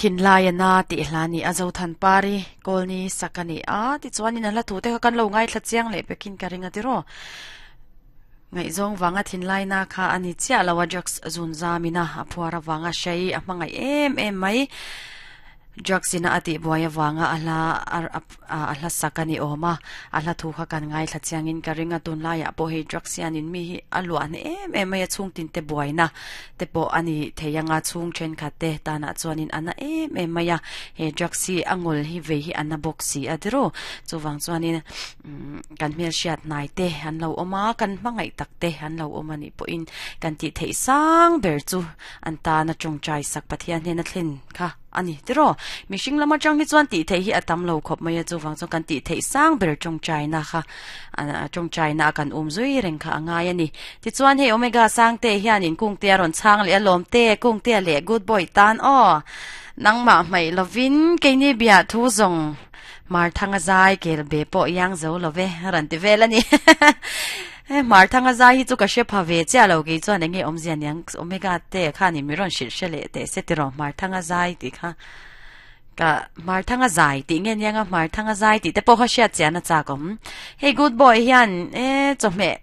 Thinlai a na tih hla ni a Zothanpari Kawlni sak a ni a, tichuanin a hla thu te kha kan lo ngaithla chiang leh pekin ka ring a tiraw. Ngaihzawng vanga thinlai na kha a ni chiah lo a, drugs zun zamina a phuar avanga hrei a hmangaih em em mai. Drugs ina a tihbuai avanga a hla a hla sak a ni awm a, a hla thu kha kan ngaithla chiangin ka ring a, tunlaiah pawh hei drugs hianin mi hi a luah hneh em em mai a, chhungtin te buaina te pawh a ni thei ang a, chhung thenkhat te tanah chuanin a na em em mai a, he drugs hi a ngawl hi vei hi a na bawk si a tiraw, chuvang chuanin kan hmelhriat hnai te an lo awm a, kan hmangaih tak te an lo awm a nih pawhin kan tih theih sang ber chu an tana tawngtai sak Pathian hnena thlen kha a ni tiraw. Mihring lam atang hi chuan tih theih hi a tam lo khawp mai a, chuvang chuan kan tih theih sang ber tawngtaina kha tawngtaina a kan um zui reng kha a ngai a ni. Tichuan hei Omega Sangte hianin Kungtea rawn chhang leh a lawmte, Kungtea leh Good Boy tan aw. Nangmah hmaih lovin keini biah thu zawng Hmarthanga zai kel be pawh iang zo lo ve rawn ti vel a ni. He Hmarthanga zai hi chu ka hre pha ve chiah lo kei chuan enge awmzia niang Omega te khanin mi rawn hrilh hre leh teh se tiraw Hmarthanga zai tih kha ka Hmarthanga zai tih nge nianga Hmarthanga zai tih te pawh kha hriat chian a chak awm. Hei Good Boy hian e chawhmeh.